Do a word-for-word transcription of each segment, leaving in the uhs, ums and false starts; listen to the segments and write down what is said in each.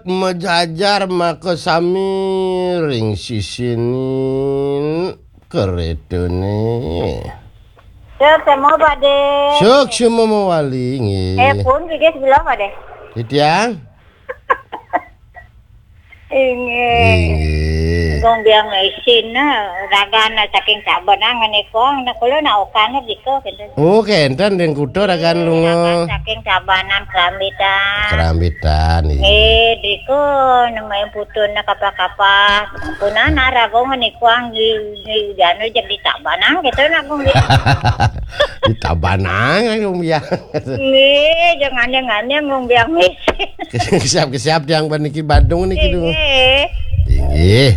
Majajar maka sami ring sisining kretane. Suksma, Pade. Suksma mawali, nggih. Eh, pun, gigis belah, Pade. Titiang? Inggih. Inggih. Gong biang isin, nah, ragan saking Tabanan ngenikong, nah, kula naokan dika, gitu. Oh, kenten ring kuta ragan lunga. Ragan saking Tabanan Kerambitan. Kerambitan, iya. Eh, dika, namanya putun, nah, kapah-kapah. Punah, nah, raga ngenikong, di, di, di anu, jeg di Tabanan, gitu, nah, gong biang. Di Tabanan, gong biang. Nggih, jangan-jangan yang ngombe amis. Kesiap-kesiap tiang paniki Badung niki, duh. Nggih. Inggih.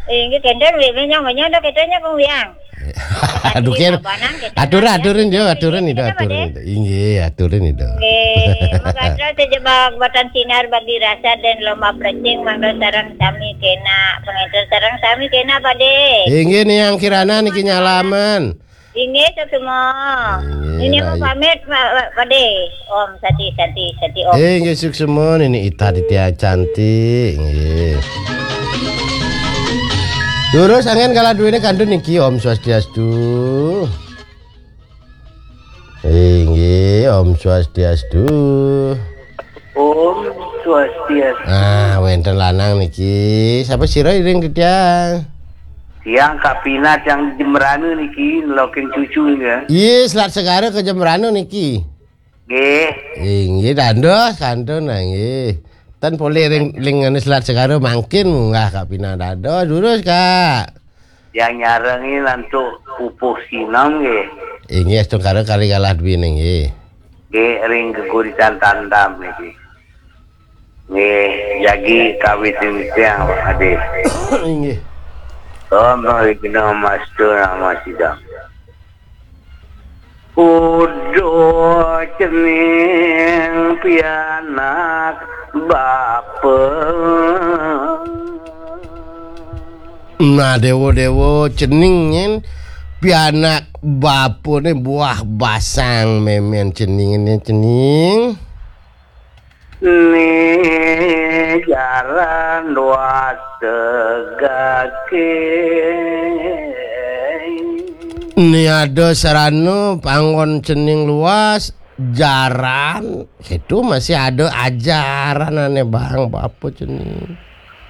Inggih, kenten wéwé nyong menyong dah katanya kong biang. Aduh, ken. Aturin, aturin, yo, aturin itu, aturin itu. Inggih, aturin itu. Nggih, makasih sejebak batan sinar bagi rasa dan lomba plecing mangga sareng sami kena. Penginten sareng sami kena, Pade. Inggih, nih yang kirana niki nyalaman. Inggih, suksma. Inggih, ini mau pamit, Pak, Pak, Pade. Om Sati, Sati, Sati, Om. Eh, inggih, suksma, Nini Ita Ditya Cantik. Inggih. Durus angin kala duwene kantun niki, Om Swastiastu. Inggih, Om Swastiastu. Om Swastiastu. Ah, wenten lanang niki. Sapa sira iring titiang? Tiang Kapinat yang Jembrana niki, nelokin cucu niki. Iya, selat segara ke Jembrana niki. Nggih. Inggih, dados kantun, nah, nggih. Ten polih ring, ring anu selat segara mangkin munggah Kapinat dados, durus, Kak. Yang nyarengin antuk pupuh sinem nggih. Inggih, astungkara kali galah duwine nggih. Nggih, ring geguritan tandam niki. Nggih, jagi kawit tiang, Pak Ade. Inggih. Om Wigno Mastu Nama Sidang. Uduh cening pianak bapa. Nah, dewa-dewa cening nyen pianak bapane buah basang memen ceningene cening. Ni jaran dua tegake. Ni ada sarana panggon cening luas, jaran, itu masih ada ajaran ane bang bapa cening.